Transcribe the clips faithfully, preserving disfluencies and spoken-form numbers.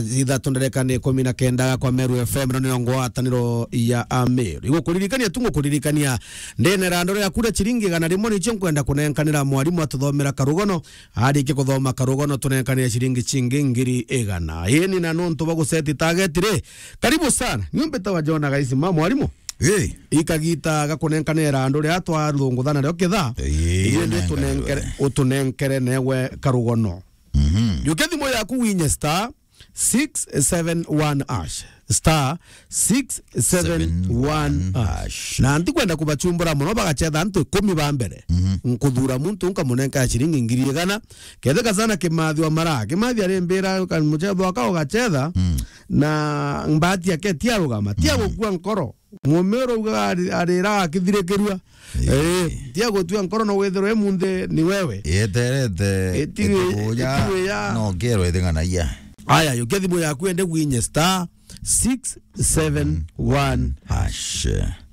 ithatu ndereka ni ikumi na kenda kwa Meru F M, no niyo ngwataniro ya Ameru. Igukuririkania tu, ngukuririkania ndene rando ria kura ciringi igana rimwe nicio nkwenda kunenkanira mwarimu atuthomera karugono. Arikia kuthoma karugono, tunenkanire ciringi cingi ngiri igana. Ini na nontu bwa guseti target ri, karibu sana. Niumbite wa Jona Gaisima, mwarimu. Ii. Ikagita gakunenkanira andu ria twarunguthana rio kitha. Ii, indi nenkanirwe. Utunenkere, utunenkere newe karugono. Mhm. Jukia thimu yaku winye star six seven one hash. Star six seven one hash. Na ntikwenda kubachumbura mono, bagachetha antu ikumi ba mbere. Mhm. Nkuthura muntu nkamunenka ciringi ngiri igana. Ketheka sana Kimathi wa Mara. Kimathi arimbira ka-, muchetho aka ugachetha. Mm. Na mbati yake tiarugama. Tiagukua nkoro. Mumiru uga ari-, arira akithirikirua. Ii. Eh, tia gutua nkoro no withirwe munthi ni wewe. Yeterete. Itiwi-, itiwi ya. No kero ithing'anagia. Aya, yukia thimu yaku ende gwinye star six seven one hash.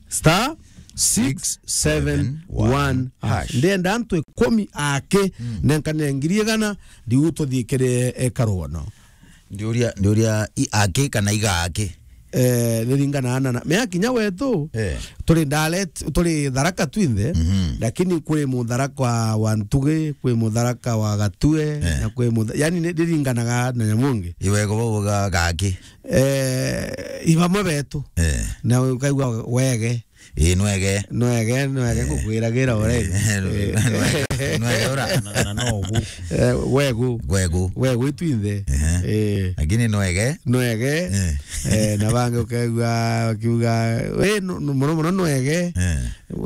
Star six seven one hash. Ndenda antu ikumi aki, mm, nenkane ngiri igana, riu tuthikire, eh, karugono. Ndiuria, ndiuria i aki kana iga aki? Eh, niringanaga na, na, mea kinya wetu, eh, turi Dalet, turi Tharaka twinthe, mhm, lakini kwi Mutharaka wa, wa Ntugi, kwi Mutharaka wa Gatue, eh, na kwi Mutha-, yani ni, niringanaga na nyamu ingi. Iwego bauga gaki? Eh, i bamwe betu. Eh. Na ukaigua wege. Ii, nwege. Nwege, nwege, eh, ngukwiragira already. Eh, eh, nwege ura. Na, na no ugu. Eh, wegu. Gwegu. Wegu itwinthe. Ehe. Eh. Lakini nwege. Nwege. Eh. Eh, na bangi ukaigua akiuga, we, nu-, nu-, muno muno nwege. Eh.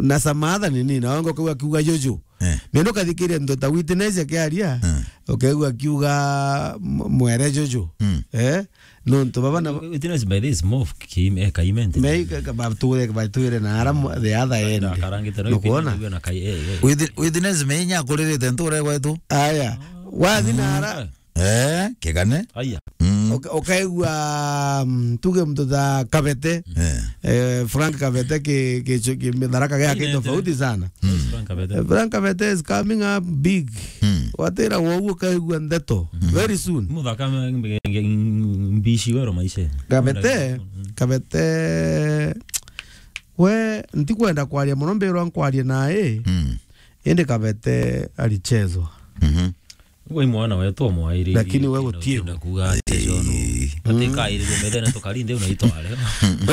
Na some other nini, na bangi ukaigua akiuga juju. Eh. Mimi ukathikiria ndo ta witness akiaria, eh, ukaigua akiuga m-, mwere juju. Mm. Eh? Nontu baba na witness by this move, ki-, eh, kaimenti. Me ka-, ka-, batwire, batwire na ara mo-, the other end. Akarangite no. Nukwona? Witness na kai-, eh, eh. Witness me inya akuririte ntura gwetu. Aya. Wathi na ara. Eh, kigane. Aya. Mm. Uka-, ukaigua, mm, tuge mtu ta Kabete. Eh. Eh, Frank Kabete ki-, ki-, ki-, mitharaka yake tofauti sana. Mm. Frank Kabete. Eh, Frank Kabete is coming up big. Mm. Watira woguo ukaigua ndeto. Mm. Very soon. Muthaka me-, me-, me-, mbishi wero maisha. Kabete, mm, Kabete, we, ntikwenda kwaria mono, mbirwa nkwarie nae. Mm. Indi Kabete alichezwa. Mhm. Gwe mwana wetu omwairi. Lakini we utie. Kuga ati jono. Ati kairi methene tukari nthi unaitware.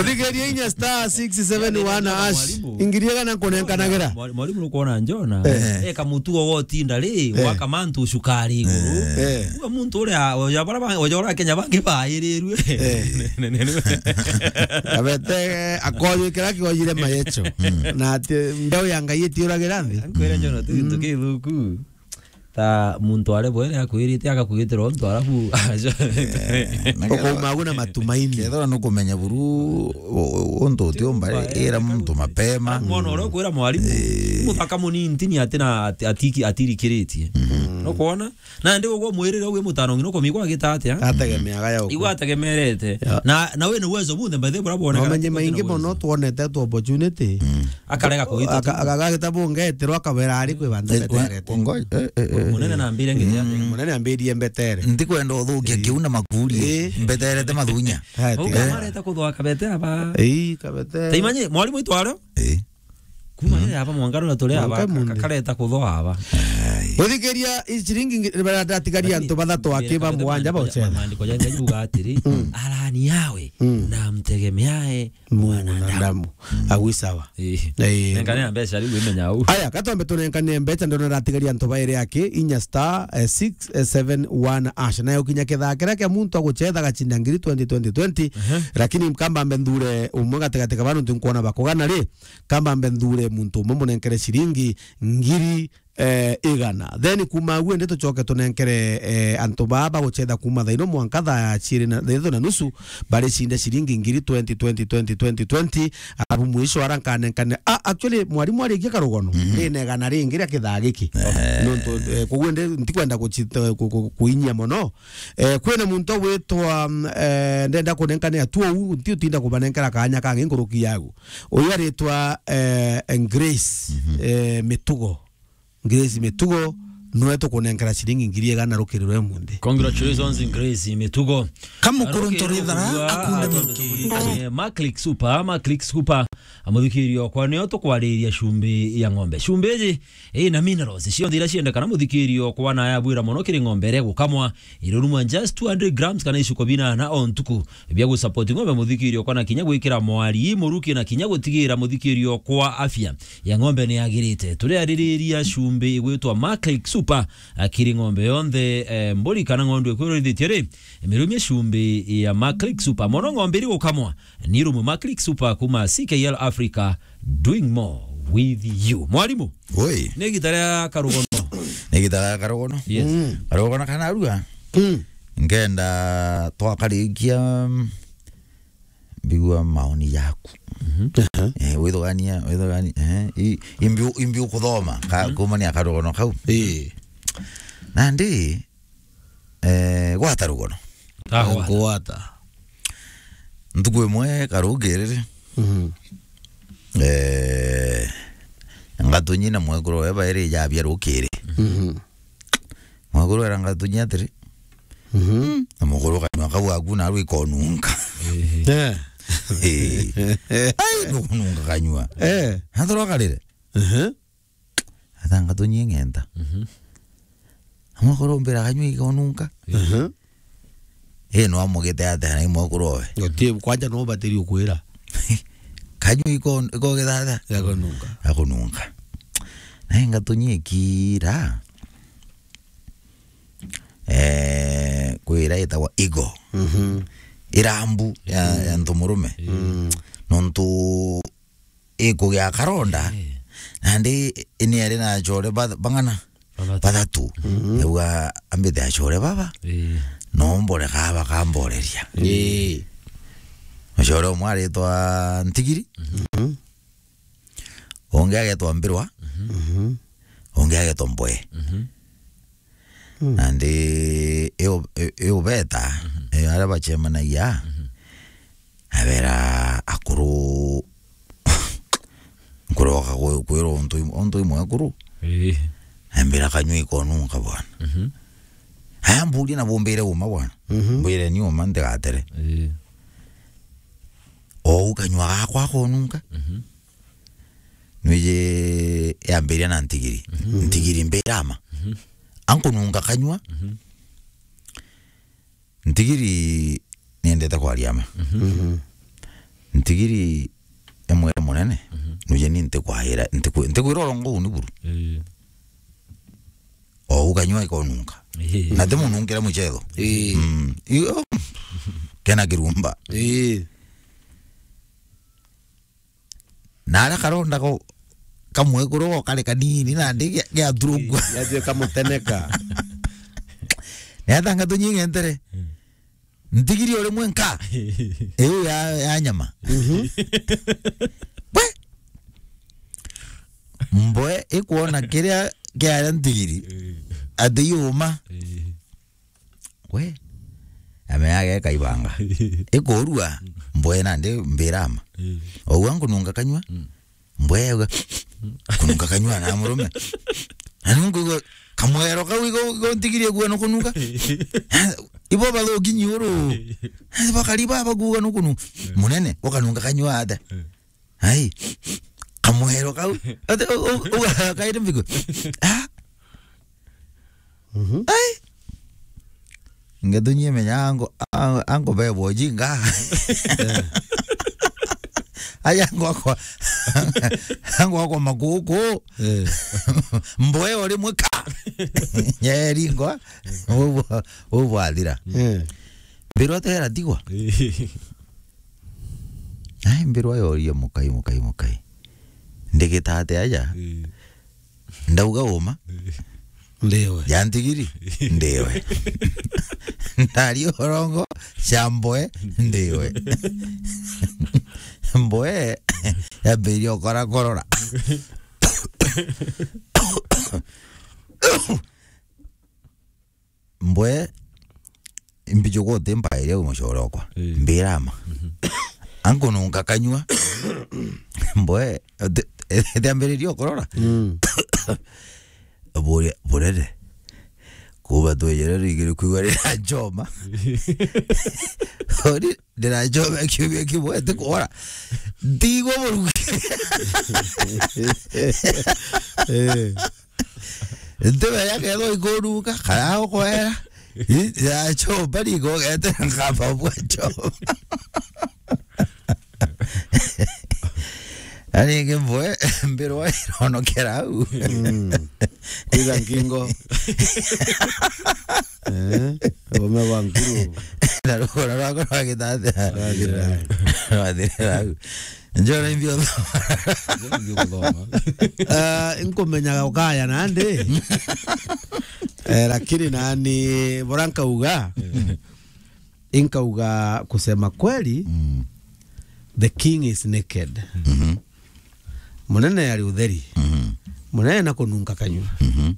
Uthikirie inya star six seven one hash. Mwalimu. Ingirie kana nkunenkanagira. Mwali-, mwalimu nukwona njona. Eh. Eka mutugo wotinda ri, eh, waka mantu cukari iguru. Eh. Uga muntu uria, oja bara ba-, oja ura Kenya bangi bairirwe. Eh. Abete akoyukira kioyire mayecho. Mm. Na ati mbeu ya Ngai itiuragira nthi. Nkwire njona tu gintu kithuku. Ta muntu are bwere akwirite agakwitira untu arabu. Eh, na ukauma agu na matumaini. Kethira nukumenya buru u-, u-, untu utiumba ri, ira muntu mapema. Mwana uria ukwira mwarimu, eh, muthaka munini ntini ati na ati-, atiki-, atirikiritie. Mhm. Nukwona? Na ndi ugwo mwirire wi mutano ngino komigwa agita atia? Ategemeaga ya uku. Igwa ategemerete. Ya. Na, na wina uwezo bunthe, by the way, bora bwoneka. Wamenye ati wina maingi uwezo. Mono twonete tu opportunity. Mm. Akarega kuita. Aka-, tu. Aka-, agagita bungeterwa akabera ari kwi bantu, eh, beterete. Ngo-, eh, eh, eh. Munene na mbire ngiri ya. Mm. Munene ambirie mbetere. Ntikwenda uthukia, eh, kiu na makuri. Eh. Mbeterete mathunya. Haya, uga tiga. Mareta kuthwa Kabete aba. Ii, Kabete. Taimanye, mwalimu itwaro? Eh. Kuma, mm, iri aba mwanka rura turi aba, mwanka ka-, munthi. Kakareta kuthwa aba. Ai. Uthikiria i ciringi ngi-, bara ndatigaria antu bathatu aki ba mugwanja ba ucetha. Maandiko ja Ngai yuga atiri, mm, arani yawe, mm, na mtegemeae mwanadamu. Mwanadamu. Mm. Agu sawa. Eh. Eh. Nengane mbeca riu imenya au. Aya, katwambe tunenkane mbeca, ndona ratigaria antu bairi aki, inya star, eh, six seven one hash. Nayo kinya kithaa kiria kia muntu agucetha gacinda ngiri twenty, twenty, twenty. Aha. Lakini kamba mbe nthure umwe gatigati ka bantu nkwona bakugana ri, kamba mbe nthure muntu umwe munenkere ciringi ngiri, eh, igana. Then kuma agu indi tucoke tunenkere, eh, antu baa bagucetha kuma thaa ino mwanka thaa ciiri na, thaa ithatu na nusu, baricinde ciringi ngiri twenty, twenty, twenty, twenty, twenty. Abu mwisho ara nkanenkane. Ah, actually, mwarimu arikia karugono. Mhm. Ndina igana ringi ria kithaa giki. Eh. Nontu, eh, koguo ndi-, ntikwenda guci-, ku-, ku-, kuinyia mono. Eh, kwina muntu agwitwa, mm, eh, ndenda kunenkane atu uu, nti utinda kubanenkera kanya kangi nkuruki yagu. Uyu aritwa, eh, Grace, mhm, eh, Mitugo. Grace Mitugo, nwe tukunenkera ciringi ngiri igana rukiri rwe munthi. Congratulations, Grace Mitugo. Kamukuru ntori thara, akunde muki. Maclick Super, Maclick Super. Amuthikirio kwa nio tukwariria cumbi ya ng'ombe. Cumbi iji ina minerals cionthe iria ciendekana, muthikirio kwa na yabwira mono kiri ng'ombe iria gukamwa, irurumwa just two hundred grams kana icuko binana o ntuku. Bia gusupport ng'ombe, muthikirio kwa na kinya gwikira mwari muruki na kinya gutigira muthikirio kwa afya ya ng'ombe ni yagirite. Turiaririria cumbi igwitwa Maclick Super, akiri ng'ombe yonthe, eh, mburi kana ng'ondu ikwirurithitie ri, mirumie cumbi ya Maclick Super. Mono ng'ombe iri gukamwa, ni rumu Maclick Super kuma C K L Africa, doing more with you. Mwarimu, oi, ni gita ria karugono. Ni gita ria karugono. Yes. Mm. Karugono kana arua. Mm. Ngenda twakarikia, mm, mbigua maoni yaku. Mhm. Aha. Eh, withugania, withugania, eh, i-, imbi u-, imbi ukuthoma, ka-, mhm, kumania karugono kau. Eh. Nandi, eh, gwata rugono. Ah, gwata. Gwata. Ntuku imwe karukiriri. Mhm. Eh, ngatunyi na mwekuru we bairi jabia rukiri. Mhm. Mwekuru era ngatunyi atiri. Mhm. Na mukuru kanyua kau aku na rwikonunka. Eh. Eh. Ai, nukununka kanyua. Eh. Natoro karire. Mhm. Ata ngatunyi ng'enta. Mhm. Amwe korombera kanyua ikonunka. Mhm. Eh, no amugite ate na imwe kurowe. Otie kwanja no batiri ukwira. Kanyua ikon-, ikogitha ate? Yakonunka. Yakonunka. Na ngatunyi ikira. Eh, kwira itagwa igo. Mhm. Irambu ya, ya ntu murume. Mm. Nontu ikugia karonda. Eh. Nandi ini ari na achore ba-, bang'ana? Bathatu. Bathatu. Mhm. Auga, "Ambite achore baba. Eh. No mbore ka bakamboreria." Eh. Achore umwe aritwa Ntigiri. Mhm. Ungi agetwa Mbirwa. Mhm. Ungi agetwa Mboe. Mhm. Mm. Nandi iu-, i-, iubeta, mhm, eh, aria bacemanagia, mhm, abera akuru, nkuroka kwi-, kwirwa untu im-, untu imwe akuru. Ii. Ambira kanyua ikonunka bwana. Mhm. Aya mburia na bumbire uma bwana. Mhm. Mbwire ni uma ntigatere. Ii. Ou kanyua gakwa konunka. Mhm. Nwiji yambiria na Ntigiri. Mhm. Ntigiri mbirama. Mhm. Ankununga kanyua. Mhm. Ntigiri niendete kwaria ma. Mhm. Mhm. Ntigiri emwira munene. Mhm. Nwiji ni ntikwaira, ntiku-, ntikwira urongo uni buru. Ii. Ou kanyua ikonunka. Ii. Na ti munungire muchetho. Ii. Mm. Iyo. Kena kirumba. Ii. Na aria karonda ko kamwe kuru go kari kanini nandi gia, giaturugua. Yatue kamuteneka. Ni atanga tunyi ng'entere. Mm. Ntigiri uri mwenka. Iu ya, ya nyama. Mhm. We! Mboe ikwona kiria kiaria ntigiri. Mm. Ati yuma. Mm. We, ame yage kaibanga. Ikorua, mboe nandi mbirama. Mm. Ou ankununga kanyua. Mm. Mboe auga, kununga kanyua na murume. Na nungu igo, kamwero kau igo, igo ntigirie kuona kununga. Ibo bathuki nyuru. Bakari baba kuga nukunu. Mm. Munene, ukanunga kanyua ate. Mm. Ai, kamwero kau. Ate, u-, u-, u-, kaire mbigo. Ah, Mhm. Ai. Ngetunyie menya ango, ango, ango bebo jinga. Eh. Ai ango akwa. Ango akwa makuku. Eh. Mboe ori mwika. Nyeri ngo. Ubu, ubu athira. Eh. Mbirwa tera tigwa. Eh. Ai, mbirwa yoria mukai, mukai, mukai. Ndigita ate aja? Eh. Ndauga uma? Eh. Ndiwe. Ya ntigiri? Ndiwe. Ndari urongo, cia mboe, ndiwe. Mboe, yambiria ukora korora. Mbwe, mbijuka uti mbaire u mucore okwa. Ii. Mbirama. Mhm. Ankununga kanyua. Mbwe, ite-, itiambiririe ukurora. Mm. Bure-, burere. Kuuma twejere ringi ni kwigua rira njoma. Ori, ndirajoma kiumia kimwe, ti kwona. Ntigwa murugi. Eh. Ntimenya kethwa ikuruka, kana gukwera. Ii, ya njoma, ni ngogete nkamba bwa njoma. Na ringi mbwe, mbirwa ironokera au. Mm. Kwitha nkingo. Eh, ume wa nkuru. Na rugoro rwakwa rwagitathira. Rwathirira au. Rwathirira au. Njora imbio thoma. Njora imbio thoma. Ah, nkumenyaga ukaya nandi. Eh, lakini nani, bora nkauga. Inkauga, kusema kweli, Mm. the king is naked. Mhm. Munene ari utheri. Mhm. Munene na kununka kanyua. Mhm.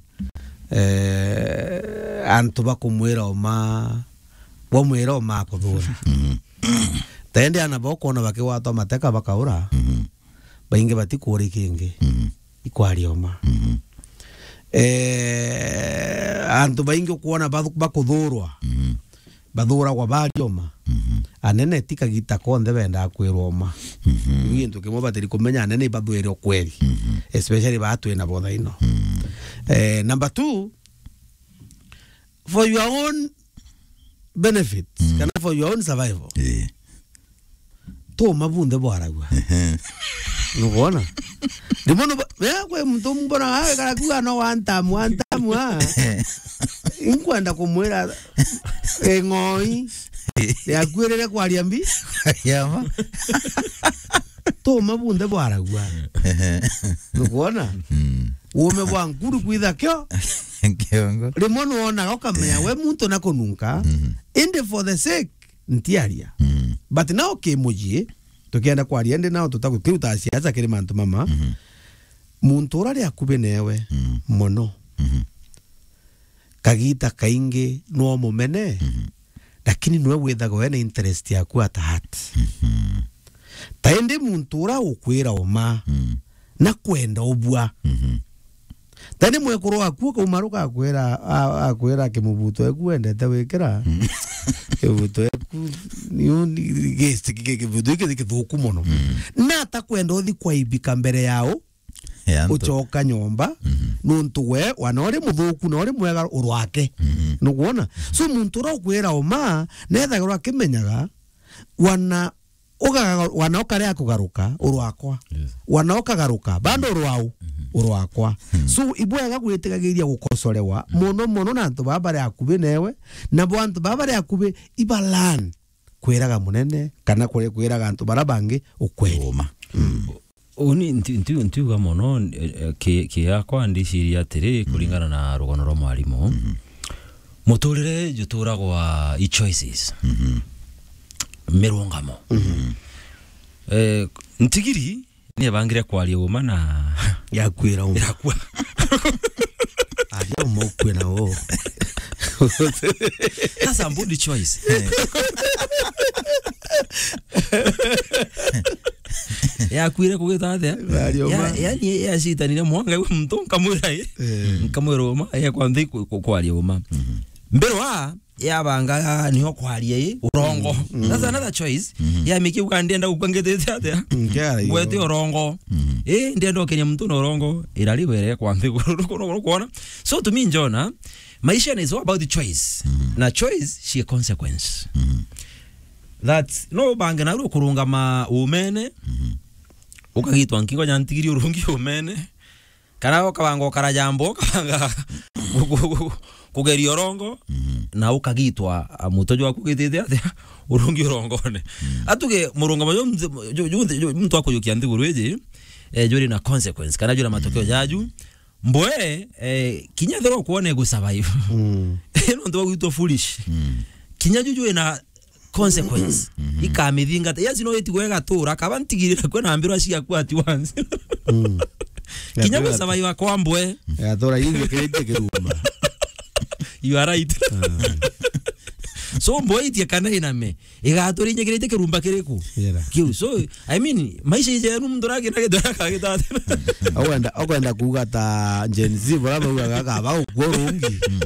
Eh, antu bakumwira uma, bwamwira uma akuthura. Mhm. Taende ana bokwona bakigwatwa mateka bakaura. Mhm. Baingi batikuuri kingi. Mhm. Ikwaria uma. Mhm. Eh, antu baingi ukwona bathu-, bakuthurwa. Mhm. Bathuragwa baria uma. Mhm. Anene ti kagita konthe bendaa kwirwa uma. Mhm. Ni gintu kimwe batiri kumenya anene ibathwire ukweri. Mhm. Especially baa twina bo thaino. Mhm. Eh, number two, for your own benefit, Mm. kana for your own survival. Eh. Tuma bunthe bwaragua. Ehe. Nukwona? Rimwe nuba-, ya kwe muntu mbona, ah, karakuga no one time, one time, ah. Inkwenda kumwira, eh, ng'oi. Yakuirire kwaria mbi. Yama. Tuma bunthe bwaragua. Ehe. Nukwona? Mm. Uume bwa nkuru kwitha kio. Kiongo. Rimwe nuonaga ukamenya we muntu na kununka. Mhm. Indi for the sake ntiaria. Mm. But now kimuji, tukienda kwaria ndi nao tutaku-, kiruta siasa kiri mantu mama. Mhm. Muntu ura ri akubi newe Mm. mono. Mhm. Kagita kaingi no mumene, Mhm. lakini nwe withagwa wena interest yaku at heart. Mhm. Ta indi muntu ura ukwira uma, Mm. na kwenda ubua. Mhm. Tani mwekuru waku ukauma ruka akwira, a-, akwira kimubuto eku wendete wikira. Mm. Kimubuto eku, ni, ni, gesti ki-, ki-, kimubuto giki ni kithuku mono. Mm. Na atakwenda uthi kwaibika mbere yao, Ya antu. Ucoka nyomba, Mhm. nuntu we, wana uri muthuku na uri mwega urwake. Mhm. Nukwona? So muntu ura ukwira uma, nethagirwa akimenyaga, wana ugaga-, wana ukarea kugaruka, urwakwa. Yes. Wana ukagaruka, bando urwau, Mhm. urwakwa. Hmm. So, ibwega gwitigagiria gukosorewa, Hmm. mono mono na antu baba bari akubi newe, na bo antu baba bari akubi iba learn kwiraga munene, kana kwi-, kwiraga antu bara bangi ukweri. Uma. Hmm. Uni nti-, nti-, ntiuga mono, eh, eh, ki-, ki yakwa ndiciria atiri, Mhm. kuringana na rugano rwa mwarimu. Mhm. Muturire juturagwa i choices. Mhm. Mirungamo. Mhm. Eh, ntigiri ni ebangire kwaria uma na Yakwira uma. Irakua. Aria uma ukue na wo. That's a good choice. Eh. Yakwire kugita atia? Aria uma. Ya-, yani yacitanire mwanka iwe muntu nkamwira i. Eh. Nkamwira uma, ya kwa nthi ku-, ku-, kwaria uma. Mhm. Mbere wa yabanga niyo kwaria i urongo. Mm, mm. That's another choice. Mhm. Ya miki uga ndienda gukua ngitite atia? Mm, kiara Ngwete irongo. Urongo. Mhm. Eh, ndienda ukenya muntu na urongo. Irari were kwa nthi kuona. So to me, Njona, maisha is all about choice. Mhm. Na choice she consequence. Mhm. That no bange na kurungama umene. Mhm. Ukagitwa nkingo ya ntigiri urungi umene. Kana ukabanga ukara jambo, ukabanga ku-, ku-, ku-, kugeria urongo, Mhm. na ukagitwa, a, muto jwaku ugitite atia, urungi urongone. Mhm. Atuge murungamo jo mze-, jo, jo, jo, muntu akujukia nthiguru iji, eh, juri na consequence, kana juri na matokeo Mhm. jaju. Mbwe, eh, kinya thero kuone gu survive. Mm. Nontu bagwitwa foolish. Mm. Kinya juju ina consequence. Mhm. Ikamithingata. Yes, no itigwe igatura, kaba ntigirira kwe na mbirwa ciaku at once. Mm. Kinya Igatura gwi survive kwa mbwe. Igatura inyikirite kirumba. You are right. Ah. So mbwe itie kana iname. Igatura inyikirite kirumba kiriku? Yera. Kiu. So, I mean, maisha ije nu muntu ragi na gitara kagitata. Okwenda, okwenda kuuga ta Gen Z, bora baugaga kaba ukwo rungi. Mm.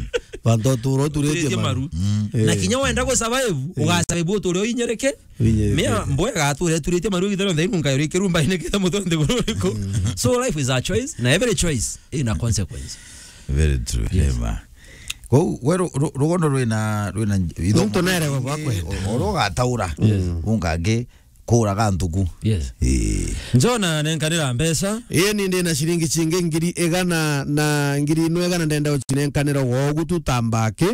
Bantu uturo uturitie maru. Mm. Na kinya wenda gu survive, uga survive uturi uinyereke. Uinyereke. Mea mboe gature turite maru githero nthai nunga yuri kirumba ine kitha mutonde bururiku. So life is a choice, na every choice ina consequence. Very true. Yes. Hema. Kou we ru-, ru-, rugono rwina, rwina ithomo. Muntu nere gwa kwenda. O-, oro gataura. Yes. Ungangi kuraga nthuku. Yes. Ii. Njona nenkanira mbeca. Ii, ni ndi na ciringi cingi ngiri igana na ngiri ino igana ndenda gucinenkanira wogu tu ta mbaki.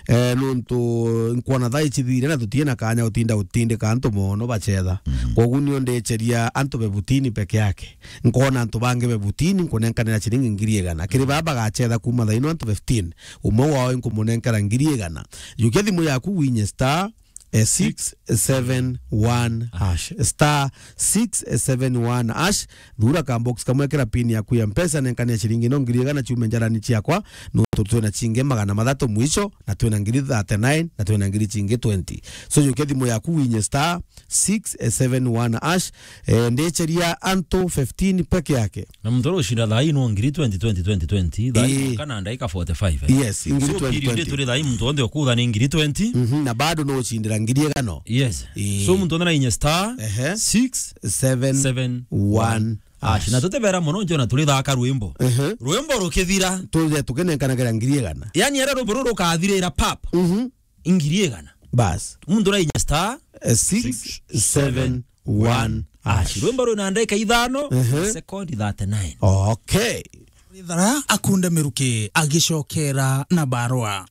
Eh, nuntu nkwona thaa ici thire na tutie na kanya utinda utindika antu mono bacetha. Mm. Kogu nio ndiceria antu be butini peke yake. Nkona antu bangi be butini nkunenkanira ciringi ngiri igana. Kiri baba bagacetha kuma thaa ino antu fifteen. Umwe wao nkumunenkera ngiri igana. Jukia thimu yaku winye star eh, six seven one hash. Star six seven one hash. Thura ka box kamwe, kira pin yaku ya Mpesa, nenkania ciringi no ngiri igana ciume njarani ciakwa, nuntu twina cingi magana mathatu mwisho, na twina ngiri thirty-nine, na twina ngiri cingi twenty. So, jukia thimu yaku winye star six seven one hash, eh, ndicheria antu fifteen peke yake. Na muntu uria ucinda thaa ii no ngiri twenty, twenty, twenty, twenty. Thaa ii Ii. Kana ndaika forty-five, eh? Yes, ngiri So, twenty, period twenty. Turi thaa ii muntu onthe ukuthani ngiri twenty. Mhm, na bado no ucindira ngiri igano. Yes. Ii. So, muntu onthe na inye star Ehe. six seven one hash. Seven one hash. Na tutebera mono, njona turi thaka rwimbo. Ehe. Rwimbo rukithira. Tuge tukinenkanagira ngiri igana. Yani, ara rwimbo ruru rukathirira pap. Mhm. Ngiri igana. Bas. Muntu na inye star Eh, six seven one hash. Rwimbo rwina ndagika ithano, Ehe. sekondi thirty-nine. Okay. Rithara akunde miruki agicokera na barua.